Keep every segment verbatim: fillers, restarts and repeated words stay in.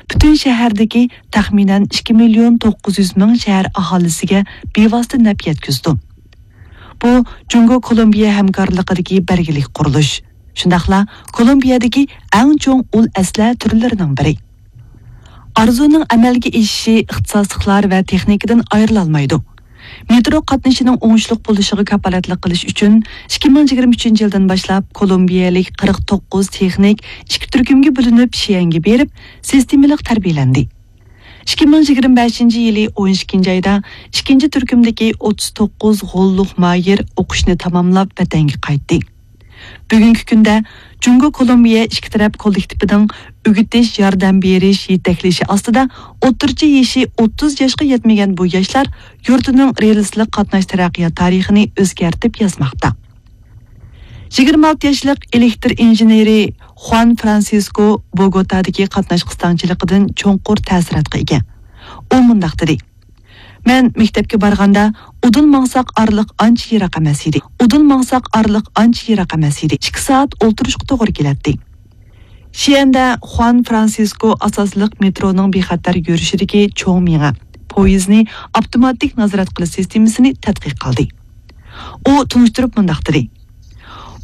پۈتۈن شەھەردىكى تەخمىنەن ئىككى مىليون توققۇز يۈز مىڭ شەھەر ئاھالىسىگە بىۋاسىتە نەپ يەتكۈزىدۇ. بۇ جۇڭگو كولومبىيە ھەمكارلىقىدىكى بەلگىلىك قۇرۇلۇش، شۇنداقلا كولومبىيەدىكى ئەڭ چوڭ ئۇل ئەسلىھە تۈرلىرىنىڭ بىرى. ئارزۇنىڭ ئەمەلگە ئېشىشى ئىختىساسلىقلار ۋە تېخنىكىدىن ئايرىلالمايدۇ. مېترو قاتنىشىنىڭ ئوڭۇشلۇق بولۇشىغا كاپالەتلىك قىلىش ئۈچۈن، ئىككى مىڭ يىگىرمە ئۈچىنچى يىلدىن باشلاپ كولومبىيەلىك قىرىق توققۇز تېخنىك ئىككى تۈركۈمگە بۆلۈنۈپ، شيەنگە بېرىپ، سىستېمىلىق تەربىيەلەندى. ئىككى مىڭ يىگىرمە بەشىنچى يىلى ئون ئىككىنچى ئايدا ئىككىنچى تۈركۈمدىكى ئوتتۇز توققۇز غوللۇق ماھىر ئوقۇشنى تاماملاپ، ۋەتەنگە قايتتى. بۈگۈنكى كۈندە جۇڭگو كولومبىيە ئىككى تەرەپ كوللېكتىپىنىڭ ئۆگىتىش، ياردەم بېرىش، يېتەكلىشى ئاستىدا ئوتتۇرىچە يېشى ئوتتۇز ياشقا يەتمىگەن بۇ ياشلار يۇرتىنىڭ رېلىسلىق قاتناش تەرەققىيات تارىخىنى ئۆزگەرتىپ يازماقتا. يىگىرمە ئالتە ياشلىق ئېلېكتر ئىنژېنېرى خۇان فرانسىسكو بوگوتادىكى قاتناش قىستاڭچىلىقىدىن چوڭقۇر تەسىراتقا ئىگە. ئۇ مۇنداق دېدى: مەن مەكتەپكە بارغاندا، ئۇدۇل ماڭساق ئارىلىق ئانچە يىراق ئەمەس ئىدى. ئۇدۇل ماڭساق ئارىلىق ئانچە يىراق ئەمەس ئىدى. ئىككى سائەت ئولتۇرۇشقا توغرا كېلەتتى. شيەندە خۇان فرانسىسكو ئاساسلىق مېترونىڭ بىخەتەر يۈرۈشىدىكى چوڭ مېڭە، پويىزنى ئاپتوماتىك نازارەت قىلىش سىستېمىسىنى تەتقىق قىلدى. ئۇ تونۇشتۇرۇپ مۇنداق دېدى: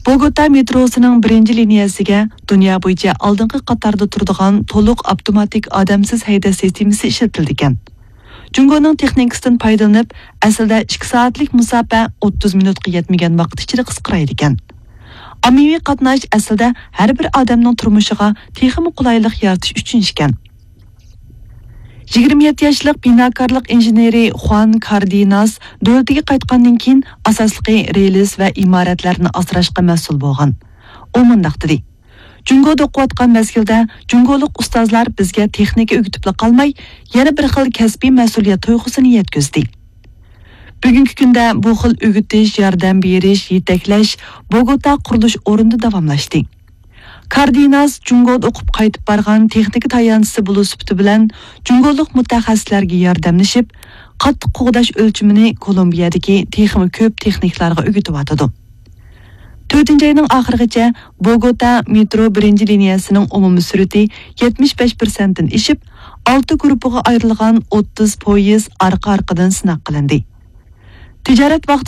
بوگوتا مېتروسىنىڭ بىرىنچى لىنىيەسىگە دۇنيا بويىچە ئالدىنقى قاتاردا تۇرىدىغان تولۇق ئاپتوماتىك ئادەمسىز ھەيدەش سىستېمىسى ئىشلىتىلىدىكەن. جۇڭگونىڭ تېخنىكىسىدىن پايدىلىنىپ، ئەسلىدە ئىككى سائەتلىك مۇساپە ئوتتۇز مىنۇتقا يەتمىگەن ۋاقىت ئىچىدە قىسقىرايدىكەن. ئاممىۋى قاتناش ئەسلىدە ھەر بىر ئادەمنىڭ تۇرمۇشىغا تېخىمۇ قولايلىق يارىتىش ئۈچۈن ئىكەن. يىگىرمە يەتتە ياشلىق بىناكارلىق ئىنژېنېرى خۇان كاردىناس دۆلىتىگە قايتقاندىن كېيىن، ئاساسلىقى رېلىس ۋە ئىمارەتلەرنى ئاسراشقا مەسئۇل بولغان. ئۇ مۇنداق دېدى: جۇڭگودا ئوقۇۋاتقان مەزگىلدە جۇڭگولۇق ئۇستازلار بىزگە تېخنىكا ئۆگىتىپلا قالماي، يەنە بىر خىل كەسپىي مەسئۇلىيەت تۇيغۇسىنى يەتكۈزدى. بۈگۈنكى كۈندە بۇ خىل ئۆگىتىش، ياردەم بېرىش، يېتەكلەش بوگوتا قۇرۇلۇش ئورنىدا داۋاملاشتى. كاردىناس جۇڭگودا ئوقۇپ قايتىپ بارغان تېخنىكا تايانچىسى بولۇش سۈپىتى بىلەن، جۇڭگولۇق مۇتەخەسسىسلەرگە ياردەملىشىپ، قاتتىق قوغداش ئۆلچىمىنى كولومبىيەدىكى تېخىمۇ كۆپ تېخنىكلارغا ئۆگىتىۋاتىدۇ. تۆتىنچى ئاينىڭ ئاخىرىغىچە بوگوتا مېترو بىرىنچى لىنىيەسىنىڭ ئومۇمىي سۈرئىتى يەتمىش بەش پىرسەنتتىن ئېشىپ، ئالتە گۇرۇپپىغا ئايرىلغان ئوتتۇز پويىز ئارقا-ئارقىدىن سىناق قىلىندى. تىجارەت ۋاقتى